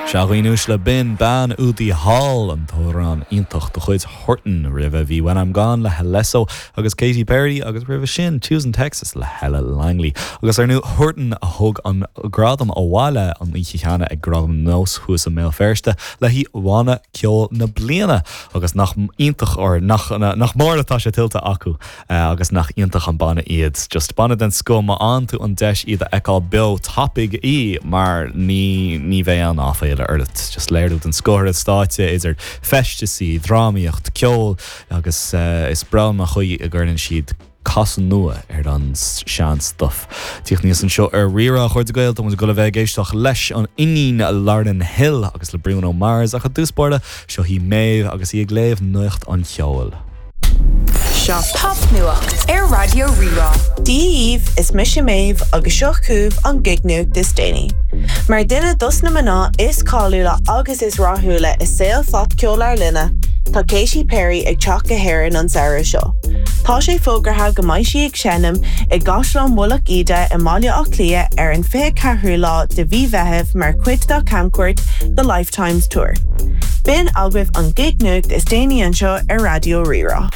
Sea, a dhaoine uaisle, b'in Bean Údaí Thall, an t-amhrán iontach de chuid Huartan. Roimhe bhí When I'm Gone le Alesso agus Katy Perry agus roimhe sin Tucson Texas le Hella Langley. Agus ar ndóigh Huartan a thug an gradam abhaile an oíche cheana ag Gradaim Nós thuas i mBéal Feirste le haghaidh Bhanna Ceoil na Bliana agus nach iontach, or nach nach mór atá sé tuillte acu. Agus nach iontach an banna iad. Just banna den scoth, má fhaigheann tú an deis iad a fheiceáil beo, tapaigh í mar ní ní bheidh aon áiféala ort. Just léiriú den scoth ar an stáitse, idir feisteasaí, drámaíocht, ceol agus is breá liom an chaoi a gcuireann siad casadh nua ar an sean stuif. Tíocht aníos anseo ar Rí-Rá, a chairde Gael, tá muid ag dul a bheith ag éisteacht leis an iníon Lauryn Hill agus le Bruno Mars ach i dtús báire, Seo í Méabh agus í ag léamh nuacht an cheoil. Seo Popnuacht ar Raidió Rí-Rá. Dia dhaoibh, is mise Méabh agus seo chugaibh an gignuacht is déanaí. Mar duine dos na mná is cáiliúla agus is rathúla i saol phopcheol ár linne, tá Katy Perry ag teacht go hÉirinn an samhradh seo. Tá sé fógartha go mbeidh sí ag seinm i gCaisleán Mhullach Íde i mBaile Átha Cliath ar an 24ú lá de mhí Mheithimh mar chuid dá camchuairt The Lifetimes Tour. B'in agaibh an gig nuacht is déanaí anseo ar Raidió Rí-Rá.